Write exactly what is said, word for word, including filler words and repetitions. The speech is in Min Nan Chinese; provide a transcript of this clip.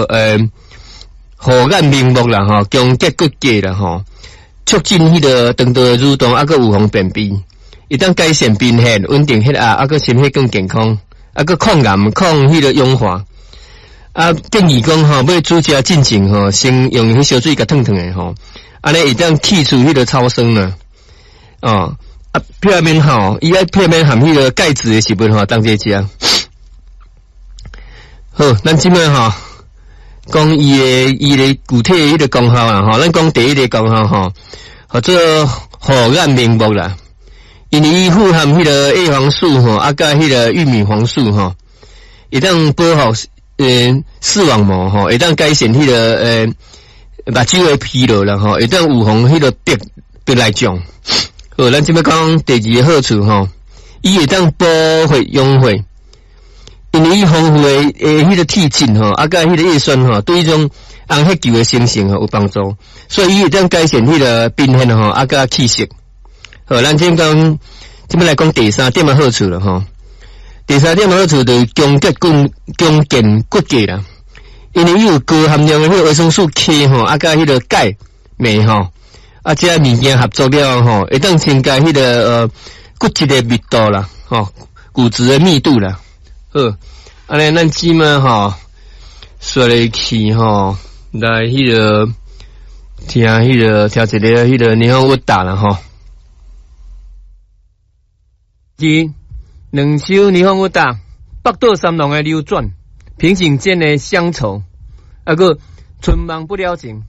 个呃護眼明目啦吼，強健骨骼啦吼，促進彼個腸道的蠕動，啊閣預防便秘，會當改善貧血、穩定血壓，啊閣心血管健康，啊閣抗癌、抗彼個氧化。啊，建議講吼，欲煮食進前吼，先用彼燒水共燙燙的吼，按呢會當去除彼個草酸啦。哦，啊，避免吼，伊愛避免含彼個鈣質的食物吼，同齊食。好，咱這擺吼講伊的伊的具體彼個功效啦吼，咱講第一个功效吼，號做護眼明目啦，因為伊富含彼個葉黃素吼，啊佮彼個玉米黃素吼，會當保護呃視網膜吼，會當改善彼個呃目睭的疲勞啦吼，會當預防彼個白白內障。好，咱這擺講第二个好處吼，伊會當補血養血，因為伊豐富的的彼個鐵質吼，啊佮彼個葉酸吼，對彼種紅血球的生成吼有幫助，所以伊會當改善彼個貧血吼，啊佮氣色。好，咱這講這擺來講第三點的好處了吼。第三點的好處就是強健骨強健骨骼啦，因為伊有高含量的彼個維生素 K 吼，啊佮彼個鈣鎂吼，啊這物件合作了吼，會當增加彼個呃骨質的密度啦，吼骨質的密度啦。好，按呢咱這擺吼，紲落去吼，來彼個聽彼個聽一个彼個霓虹烏達啦吼。一、兩首霓虹烏達，北島三郎的流轉，平行線的鄉愁，啊閣春夢不了情。